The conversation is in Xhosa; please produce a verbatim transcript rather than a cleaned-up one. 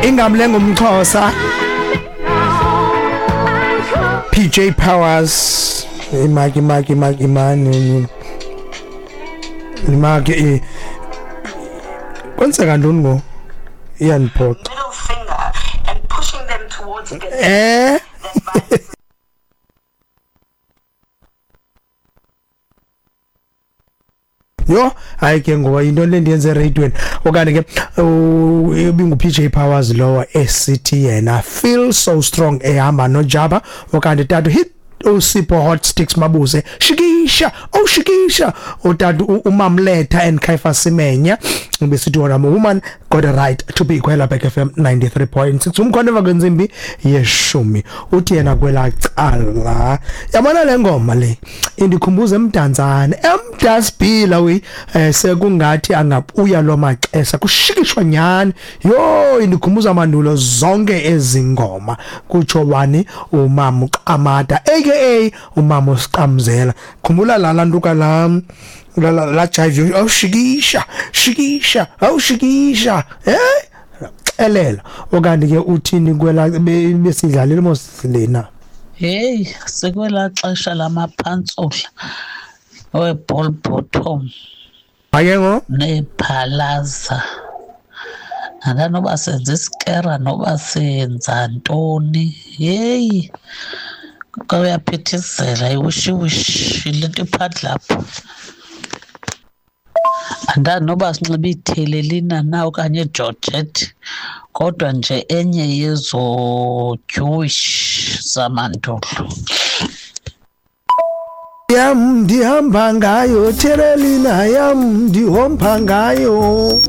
Ingamle ngumXhosa P J Powers imaki imaki imaki imani imaki eh kwenzeka ntoni ngo iyandiphoxa middle finger and pushing them towards the eh Yo hayi ke ngoba into le ndiyenze eradiweni okanye ke ibingu P J Powers lowa esithi yena feel so strong ehamba noJaba okanye tatu hit uSipho Hot Sticks Mabuse shikisha oh shikisha utatu uMamletha and Kaifa Simenya besithi wona woman got a right to be kwela Back F M ninety-three point six umkhonto emva kwentsimbi yeshumi uthi yena kwela cala yabona le ngoma le indikhumbuza emdantsane emdasbila we eh, sekungathi angabuya lo maxesha kushikishwa nyani yo indikhumbuza mandulo zonke ezingoma kutsho wani umama uQamata aka umama uSiqamzela khumbula la lantuka la la la, la jive awushikisha shikisha awushikisha eh xelela okanti ke uthini kwela besidlalile mos lena Hey sekwela xesha lamaphantsula we ball bottom ake ngo nephalaza andanoba senza isikera noba senza ntoni hey kuyaphithizela iwishiwishi lento iphandle lapho andanoba sinxiba ithelelina na okanye igeorgette kodwa nje enye yezo Jewish zamandulo yam ndihamba ngayo thelelina yam ndihomba ngayo.